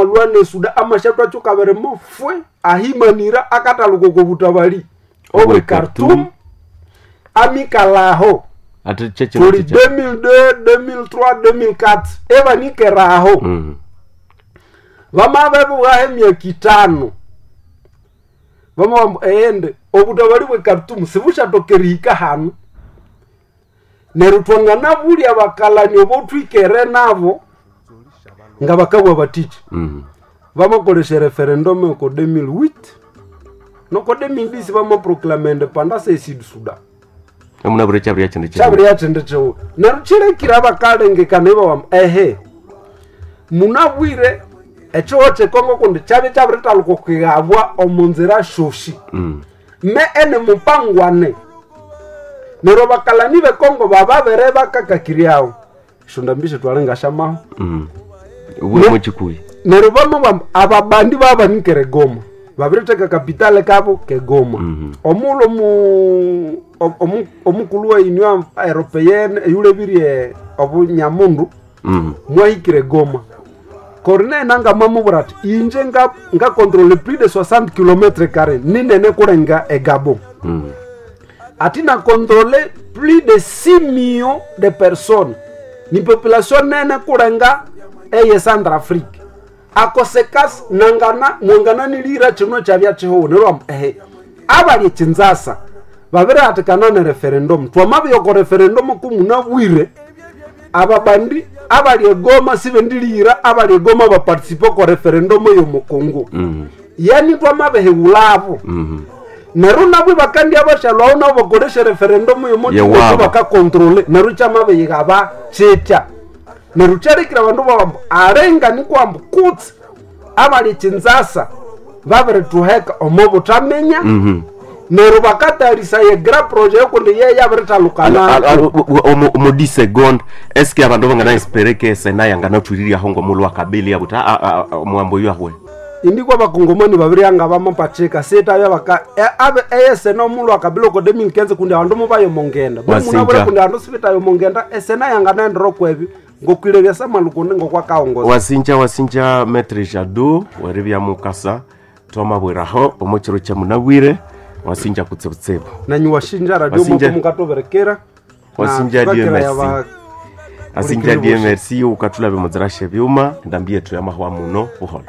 Amalwa ne Suda amashatwacuka birimo fwe ahimanira akataluka oko butabali obwe Obwe Khartoum Khartoum. amikalaho Ati chechino tuli chicha. 2002 2003 2004 ebanikeraho vamavevuhaho emyaka 5 vamavambu eyende obutabali bwe Khartoum sibushatokera hanu neryo twanganabulya bakalani obotwikere nabo nga bakabwa batichi vamakolesha referendum oko 2008 noko 2010 vamaproclama independence e Sud Sudan. Amuna chabiri chindi chicha. Kyabiri yathindi kiwu neryo kyilekire abakalengekana ibawamba ehe munabwire ekiho kyekongo kundi kyabya kyabiritaluka okwighabwa omunzira syosi me ene mupangwane neryo abakalani bekongo bababere bakakakiryawo esyondambi twalengashamaho. Uwe muchikuyi. Neryo bamabamba ababandi babanikere Goma babiritheka kapitale kabo kegoma. Omulo omukulhu wa Union Européenne eyulebirye obunyamundu mwahikire Goma. Corneille Nangaa mwamubwira ati inje nga ngakontrole plus de 60 km carré ninene kulenga egabo ati na controle plus de 6 millions de personnes ni population nene kulenga eye Centrafrique akosekasi nangana mwangananilira chino chabya chihuhu neryo ehe abali chinzasa babirihatikana ne referendum twamabiyoko referendum kumunabwire ababandi abali egoma sibendilira abali egoma baparticipe ko referendum yomukongo yani twamabehewulabo neryo nabwo bakandi abashalwawo nabo bakolesha referendum yomukongo Yewabo. bakakontrole neryo kyamabeyikaba kyitya neryo kyalekire abandu babambu alenga nikwambu kutsi abali chinzasa babirituheka omo butaminya neryo bakatalisa ye grand projet yokundi ye yabiritalukana. Omu 10 seconde eske abandu bangana espere ke sena yanganatwiriraho ngomulhu wakabili abuti omwambo oyo ahwe? Indikwa bakongomani babiri anga bamapachika sita baka abe eyesena omulhu akabila oko 2015 kundi abandu mubayomongenda Wasinja. munabure kundi abandu sibitayomongenda esena yanganaendera okwebyo ngokwilebya samalu kundi ngokwakaongoza. Wasinja wasinja maître Jado weribya mukasa twamabwiraho omu kiro kya munabwire wasinja kutsibutsibu. Nanyu washinja radio Wasinja. moko mukatoberekera. Wasinja, Dieu merci. Asinja Ulikiri die bosi. merci ukathulabe mudzirashe byuma ndambi yetu yamahwa muno buholo.